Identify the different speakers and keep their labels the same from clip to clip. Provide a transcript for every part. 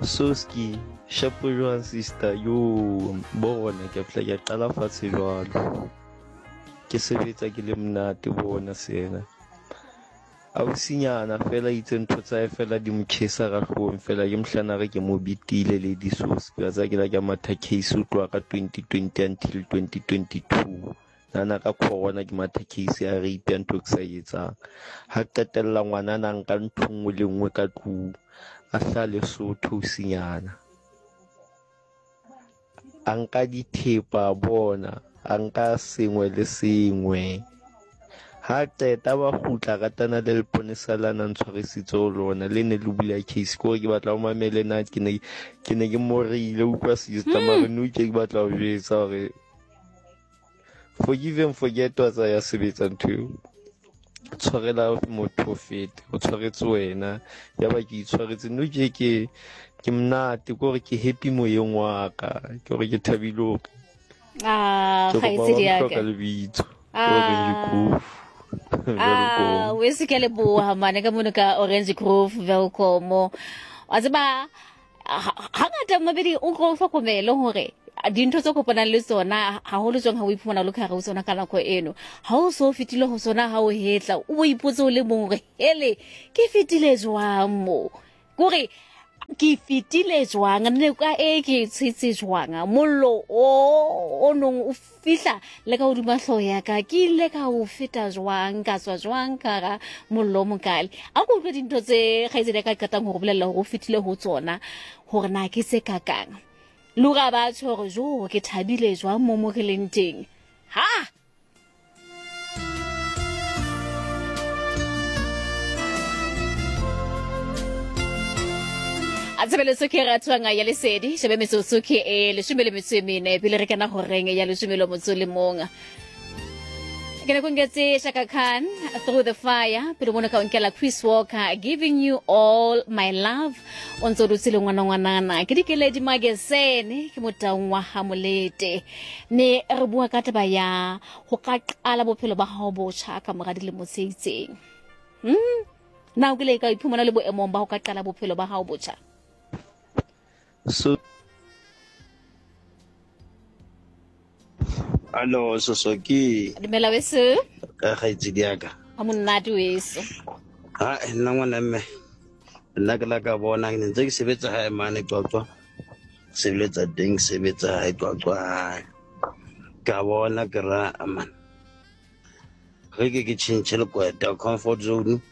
Speaker 1: Soski, shapo jwang sister? Yo, bona ke fihla ke qala fatshe jwalo. Ke sebetsa ke le monate bona sena. Ausinyana fela itse ntho tsa hae fela di mo chesa ka hloohong fela ke mohlana re ke mo bitile lady Soski. Wa tseba ke la ke matha case ho tloha ka 2020 until 2022. Nana ka corona ke matha case ya rape ya ntho ke sa e etsang. Ha qetella ngwanana a nka ntho nngwe le nngwe ka tlung. A hlaha Lesotho ausinyana. A nka dithepa bona, a nka sengwe le sengwe. Ha qeta ba kgutla ratana le leponesa la na ntshwarisitse ho lona le ne le bula case ke hore ke batla o mamele na ke ne ke ne ke moreile utlwa sister mare nou ke batla ho jwetsa hore forgive and forget wa tsaya sebetsa ntho eo tshwarela motho o fete o tshwaretse wena ya ba ke itshwaretse no ke ke ke monate ke gore ke happy moyeng wa ka ke gore ke thabile hore
Speaker 2: Ah,
Speaker 1: ke kopa ba
Speaker 2: kgaitsedi ya
Speaker 1: hloka
Speaker 2: ka.
Speaker 1: lebitso ke Orange
Speaker 2: Ah.
Speaker 1: Grove
Speaker 2: Ah,
Speaker 1: Welkom
Speaker 2: we se ke leboha mane ka mono ka Orange Grove Welkom. Wa tseba hangata mabedi o tlo hlokomele hore dintho tse kopanang le tsona haholo jwang ha o iphumana o le ka hare ho tsona ka nako eno ha o so fetile ho tsona ha o hetla o bo ipotse o le mong hore hele ke fetile jwang mo kore ke fetile jwang noka e ke e tshetse jwang mollo o o nong o fihla le ka hodima hlooho ya ka ke ile ka o feta jwang ka tswa jwang ka ga mollo o mokale a ko utlwe dintho tse kgaitsedi ya ka qetang go go bolelela gore o fetile go tsona gore na ke tse kakang le gore a ba tsho gore jo ke thabile jwang mo mo re leng teng ha A tshebeletso ke ratwang ya lesedi shebe metsotso ke e leshome le metso e mene pele re kena horeng ya leshome le motso le mong ke ne kongetse Shaka Khan through the fire pele mono ka onkela Chris Walker giving you all my love o ntse o dutse le ngwana ngwanana ke dikeledi magesene ke motaung wa ha molete mme re bua ka taba ya go ka qala bophelo ba gago botjha ka mora dilemo tse itseng na o kile ka iphumana le boemong ba go ka qala bophelo ba gago botjha?
Speaker 1: So
Speaker 3: Alo, Sosoki.
Speaker 2: Dumela weso.
Speaker 3: Ka kgaitsedi ya ka.
Speaker 2: A monate weso.
Speaker 3: Ha nna ngwana mme. Nna ke la ka bona ke ntse ke sebetsa hae mane Qwaqwa. Sebeletsa teng sebetsa hae Qwaqwa hae. Ka bona ke ra man. Re ke ke tšhentšhe lekweta comfort zone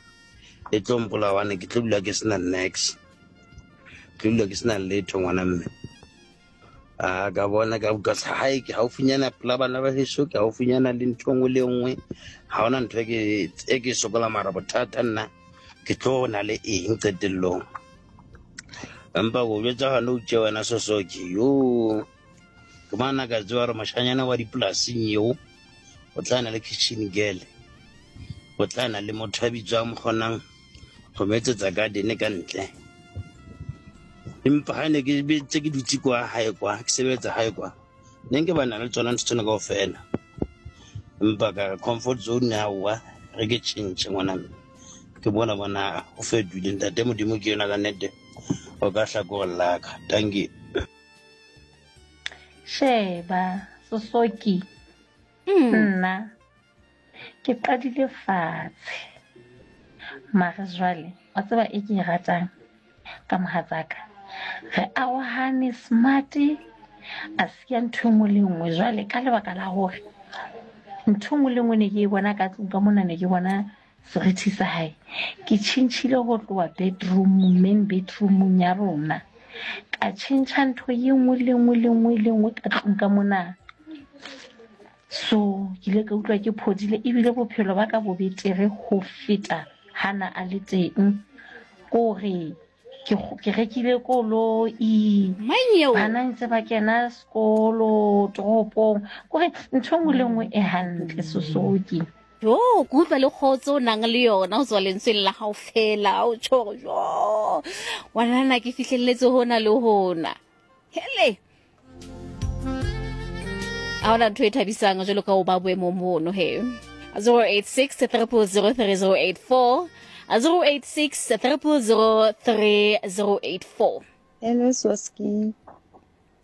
Speaker 3: e tlo mpolawane ke tlo dula ke sena nex ke dula ke sena letho ngwana mme a ka bona ka utlwa hae ke haufinyana pela bana ba heso ke haufinyana le ntho nngwe le nngwe ga ona ntho e ke e sokola mara bothata nna ke tlo na le eng qetellong empa go jwetsa gane o tše wena sosoke yo ke mana ka tseba gore moshanyana wa dipolasing eo o tla na le kitchen girl o tla na le motho a bitswang mo kgonang go mo etsetsa garden ka ntle empa ha ne ke tse ke dutse kwa hae kwa ke sebetsa hae kwa ne nke ba na le tsona ntho tsena kaofela empa ka re comfort zone aowa re ke tšhentšhe ngwana mme ke bona bona o fetoile ntate modimo ke yona ka nnete o ka hlakoreng laka tanki
Speaker 4: Sheba, Sosoki, nna ke qadile fatshe. Mare jwale, wa tseba e ke e ratang ka mohatsaka. Re arohane smart, a siya ntho e nngwe le nngwe. Jwale ka lebaka la hore ntho e nngwe le nngwe ne ke e bona ka tlung ka mona ne ke bona Serithi sa hae ke tjhentjhile ho tloha bedroom main bedroomong ya rona ka tjhentjha ntho ye nngwe le nngwe le nngwe le nngwe ka tlung ka mona so ke ile ka utlwa ke phodile ebile bophelo ba ka bo betere ho feta hana a le teng kore ke rekile koloi bana ntse ba kena sekolo toropong kore ntho nngwe le nngwe e hantle sosoki
Speaker 2: Jo, ke utlwa le kgotso o nang le yona ho tswa lentsweng la gago fela o tjho gore jo ngwanana ke fihlelletse hona le hona hele a hona ntho e thabisang jwalo ka o ba boemong bono he 086 000 3084 086 000 3084.
Speaker 5: Hello Soski.